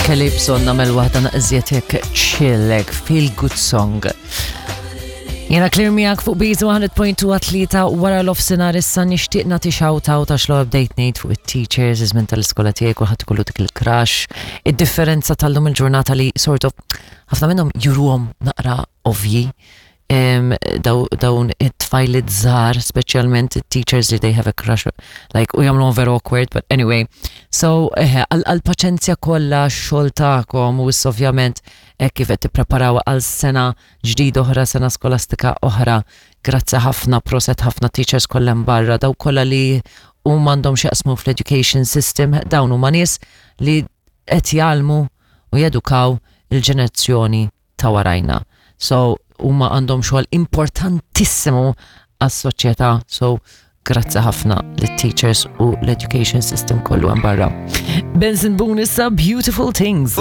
Kelli bżonn nagħmel waħda naqżiet hekk chill, hekk feel good song. Jena clear miegħek fuq Beat 100.2 għat-tlieta wara l-offsinar issa nixtieq nagħti shout out għax l bdejt ngħid fuq it-teachers iż-żmien tal-iskola tiegħi kulħadd ikollu dik il-crush. Id-differenza tal-lum il-ġurnata li sort of ħafna minnhom juruhom naqra ovji dawn it-tfajliet żgħar, speċjalment it-teachers li they have a crush, like u jagħmluhom very awkward, but anyway. So, eħe, għal-paċenzja kollha x-xogħol tagħkom u issa ovvjament hekk kif qed tippreparaw għal sena ġdida oħra, sena skolastika oħra. Grazzi ħafna, proset ħafna teachers kollha hemm barra, daw kollha li huma għandhom x'jaqsmu fl-education system, dawn huma nies li qed jgħallmu u jedukaw il-ġenerazzjoni ta' warajna. So huma għandhom xogħol importantissimu għas-soċjetà. So grazzi ħafna lit-teachers u l-education system kollu hemm barra. Benson Boone issa Beautiful Things.